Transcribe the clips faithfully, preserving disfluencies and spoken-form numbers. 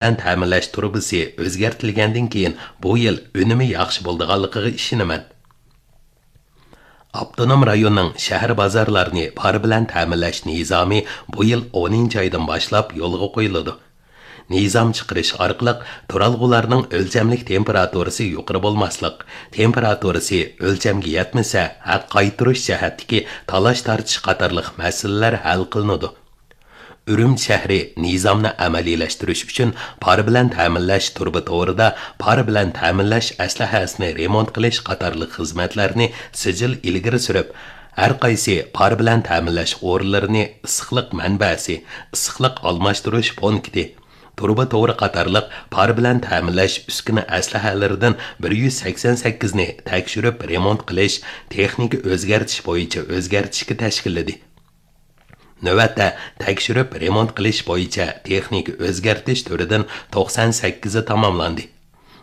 بىلەن تەمىنلەش تۇرۇبىسى ئۆزگەرتىلگەندىن كېيىن بۇ يىل ئۈنۈمى ياخشى بولىدىغانلىقىغا ئىشىنىمەن. ئاپتونوم رايوننىڭ شەھەر بازارلارنى پار بىلەن تەمىنلەش نىزامى بۇ يىل ئونىنچى ئايدىن باشلاپ يولغا قويۇلىدۇ. نىزام چىقىرىش ئارقىلىق تۇرالغۇلارنىڭ ئۆلچەملىك تېمپېراتۇرىسى يۇقىرى بولماسلىق، تېمپېراتۇرىسى ئۆلچەمگە يەتمىسە، ھەق قايتۇرۇش جەھەتتىكى تالاش-تارتىش قاتارلىق مەسىلىلەر ھەل قىلىنىدۇ. ئۈرۈمچى شەھىرى نىزامنى ئەمەلىيلەشتۈرۈش ئۈچۈن پار بىلەن تەمىنلەش تۇرۇبا تورىدا پار بىلەن تەمىنلەش ئەسلىھەسىنى رېمونت قىلىش قاتارلىق خىزمەتلەرنى سىجىل ئىلگىرى سۈرۈپ، ھەر قايسى پار بىلەن تەمىنلەش ئورۇنلىرىنى ئىسسىقلىق مەنبەسى، ئىسسىقلىق ئالماشتۇرۇش پونكىتى، تۇرۇبا تورى قاتارلىق پار بىلەن تەمىنلەش ئۈسكۈنە ئەسلىھەلىرىدىن بىر يۈز سەكسەن سەككىزنى تەكشۈرۈپ رېمونت قىلىش، تېخنىكا ئۆزگەرتىش بويىچە ئۆزگەرتىشكە تەشكىللىدى. نۆۋەتتە تەكشۈرۈپ رېمونت قىلىش بويىچە تېخنىكا ئۆزگەرتىش تۈرىدىن توقسان سەككىزى تاماملاندى.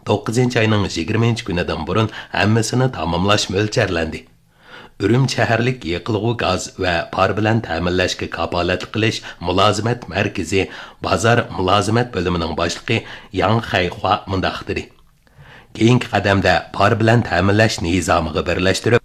توققۇزىنچى ئاينىڭ يىگىرمىنچى كۈنىدىن بۇرۇن ھەممىسىنى تاماملاش مۆلچەرلەندى. ئۈرۈمچى شەھەرلىك يېقىلغۇ گاز ۋە پار بىلەن تەمىنلەشكە كاپالەتلىك قىلىش مۇلازىمەت مەركىزى بازار مۇلازىمەت بۆلۈمىنىڭ باشلىقى ياڭ خەيخۇا مۇنداق دېدى: كېيىنكى قەدەمدە پار بىلەن تەمىنلەش نىزامىغا بىرلەشتۈرۈپ،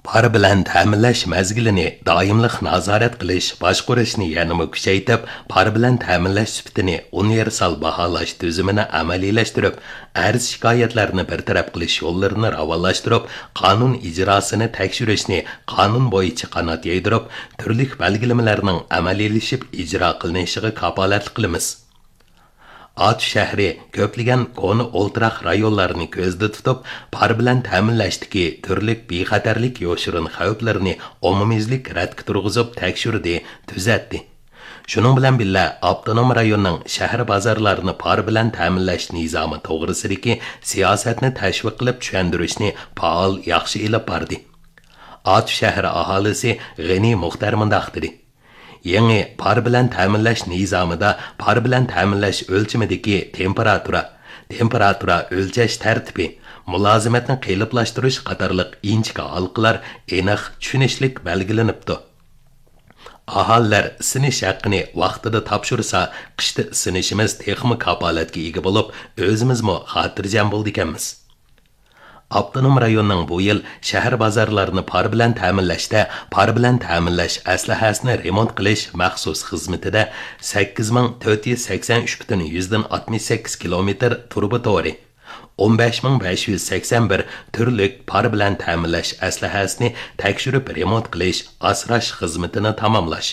پار بىلەن تەمىنلەش مەزگىلىنى دائىملىق نازارەت قىلىش، باشقۇرۇشنى يەنىمۇ كۈچەيتىپ، پار بىلەن تەمىنلەش سۈپىتىنى ئۇنىۋېرسال باھالاش تۈزۈمىنى ئەمەلىيلەشتۈرۈپ، ئەرز-شىكايەتلەرنى بىر تەرەپ قىلىش يوللىرىنى راۋانلاشتۇرۇپ، قانۇن ئىجراسىنى تەكشۈرۈشنى قانۇن بويىچە قانات يايدۇرۇپ، تۈرلۈك بەلگىلىمىلەرنىڭ ئەمەلىيلىشىپ ئىجرا قىلىنىشىغا كاپالەتلىك قىلىمىز. ئاتۇش شەھىرى كۆپلىگەن كونا ئولتۇراق رايونلارنى كۆزدە تۇتۇپ، پار بىلەن تەمىنلەشتىكى تۈرلۈك بىخەتەرلىك يوشۇرۇن خەۋپلىرىنى ئومۇميۈزلۈك رەتكە تۇرغۇزۇپ تەكشۈردى، تۈزەتتى. شۇنىڭ بىلەن بىللە، ئاپتونوم رايوننىڭ شەھەر بازارلارنى پار بىلەن تەمىنلەش نىزامى توغرىسىدىكى سىياسەتنى تەشۋىق قىلىپ چۈشەندۈرۈشنى پائال ياخشى ئېلىپ باردى. ئاتۇش شەھىرى ئاھالىسى غېنى مۇختەر مۇنداق دېدى: يېڭى پار بىلەن تەمىنلەش نىزامىدا پار بىلەن تەمىنلەش ئۆلچىمىدىكى تېمپېراتۇرا، تېمپېراتۇرا ئۆلچەش تەرتىپى، مۇلازىمەتنى قېلىپلاشتۇرۇش قاتارلىق ئىنچىكە ھالقىلار ئېنىق، چۈشىنىشلىك بەلگىلىنىپتۇ. ئاھالىلەر ئىسسىنىش ھەققىنى ۋاقتىدا تاپشۇرسا، قىشتا ئىسسىنىشىمىز تېخىمۇ كاپالەتكە ئىگە بولۇپ، ئۆزىمىزمۇ خاتىرجەم بولىدىكەنمىز. ئاپتونوم رايوننىڭ بۇ يىل شەھەر بازارلارنى پار بىلەن تەمىنلەشتە پار بىلەن تەمىنلەش ئەسلىھەسىنى رېمونت قىلىش مەخسۇس خىزمىتىدە سەككىز مىڭ تۆت يۈز سەكسەن ئۈچ پۈتۈن يۈزدىن ئاتمىش سەككىز كىلومېتىر تۇرۇبا تورى، ئون بەش مىڭ بەش يۈز سەكسەن بىر تۈرلۈك پار بىلەن تەمىنلەش ئەسلىھەسىنى تەكشۈرۈپ رېمونت قىلىش، ئاسراش خىزمىتىنى تاماملاش،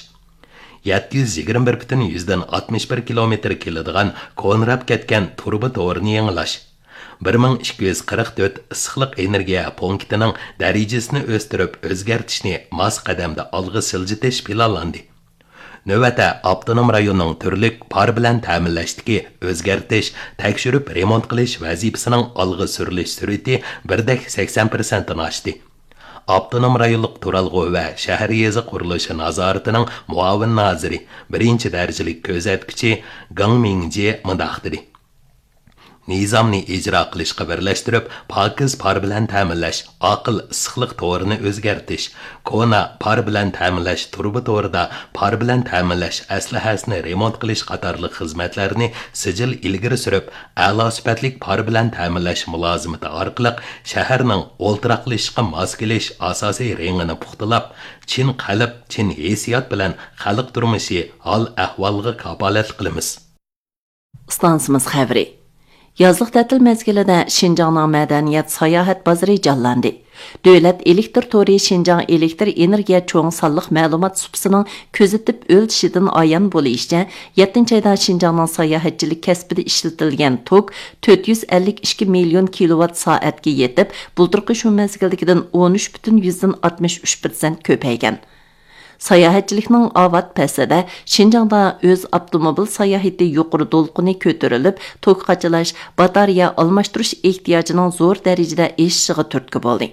يەتتە يۈز يىگىرمە بىر پۈتۈن يۈزدىن ئاتمىش بىر كىلومېتىر كېلىدىغان كونىراپ كەتكەن تۇرۇبا تورىنى يېڭىلاش، بىر مىڭ ئىككى يۈز قىرىق تۆت ئىسسىقلىق ئېنېرگىيە پونكىتىنىڭ دەرىجىسىنى ئۆستۈرۈپ ئۆزگەرتىشنى ماس قەدەمدە ئالغا سىلجىتىش پىلانلاندى. نۆۋەتتە ئاپتونوم رايوننىڭ تۈرلۈك پار بىلەن تەمىنلەشتىكى ئۆزگەرتىش، تەكشۈرۈپ رېمونت قىلىش ۋەزىپىسىنىڭ ئالغا سۈرۈلۈش سۈرئىتى بىردەك سەكسەن پىرسەنتتىن ئاشتى. ئاپتونوم رايونلۇق تۇرالغۇ ۋە شەھەر يېزا قۇرۇلۇشى نازارىتىنىڭ مۇئاۋىن نازىرى، بىرىنچى دەرىجىلىك كۆزەتكۈچى گېڭ مىڭجې مۇنداق دېدى: نىزامنى ئىجرا قىلىشقا بىرلەشتۈرۈپ، پاكىز پار بىلەن تەمىنلەش، ئاقىل ئىسسىقلىق تورىنى ئۆزگەرتىش، كونا پار بىلەن تەمىنلەش تۇرۇبا تورىدا پار بىلەن تەمىنلەش ئەسلىھەسىنى رېمونت قىلىش قاتارلىق خىزمەتلەرنى سىجىل ئىلگىرى سۈرۈپ، ئەلا سۈپەتلىك پار بىلەن تەمىنلەش مۇلازىمىتى ئارقىلىق شەھەرنىڭ ئولتۇراقلىشىشقا ماس كېلىش ئاساسىي رېڭىنى پۇختىلاپ، چىن قەلب، چىن ھېسسىيات بىلەن خەلق تۇرمۇشى، ھال-ئەھۋالىغا كاپالەتلىك قىلىمىز. ئىستانسىمىز خەۋىرى. يازلىق تەتىل مەزگىلىدە شىنجاڭنىڭ مەدەنىيەت ساياھەت بازىرى جانلاندى. دۆلەت ئېلېكتىر تورى شىنجاڭ ئېلېكتىر ئېنېرگىيە چوڭ سانلىق مەلۇمات سۇپىسىنىڭ كۆزىتىپ ئۆلچىشىدىن ئايان بولۇشىچە، يەتتىنچى ئايدا شىنجاڭنىڭ ساياھەتچىلىك كەسپىدە ئىشلىتىلگەن توك تۆت يۈز ئەللىك ئىككى مىليون كىلوۋات سائەتكە يېتىپ، بۇلتۇرقى شۇ مەزگىلدىكىدىن ئون ئۈچ پۈتۈن يۈزدىن ئاتمىش ئۈچ پىرسەنت كۆپەيگەن. ساياھەتچىلىكنىڭ ئاۋات پەسلىدە شىنجاڭدا ئۆز ئاپتوموبىل ساياھىتى يۇقىرى دولقۇنى كۆتۈرۈلۈپ، توك قاچىلاش، باتارېيە ئالماشتۇرۇش ئېھتىياجىنىڭ زور دەرىجىدە ئېشىشىغا تۈرتكە بولدى.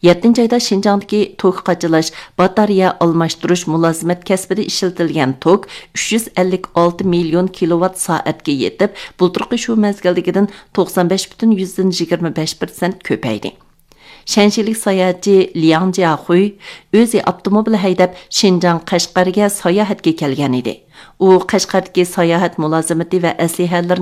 يەتتىنچى ئايدا شىنجاڭدىكى توك قاچىلاش، باتارېيە ئالماشتۇرۇش مۇلازىمەت كەسپىدە ئىشلىتىلگەن توك ئۈچ يۈز ئەللىك ئالتە مىليون كىلوۋات سائەتكە يېتىپ، بۇلتۇرقى شۇ مەزگىلدىكىدىن توقسان بەش پۈتۈن يۈزدىن يىگىرمە بەش پىرسەنت كۆپەيدى. شەنشىلىك ساياھەتچى لياڭ جياخۇي ئۆزى ئاپتوموبىل ھەيدەپ شىنجاڭ قەشقەرگە ساياھەتكە كەلگەن ئىدى. ئۇ قەشقەردىكى ساياھەت مۇلازىمىتى ۋە ئەسلىھەلىرىنى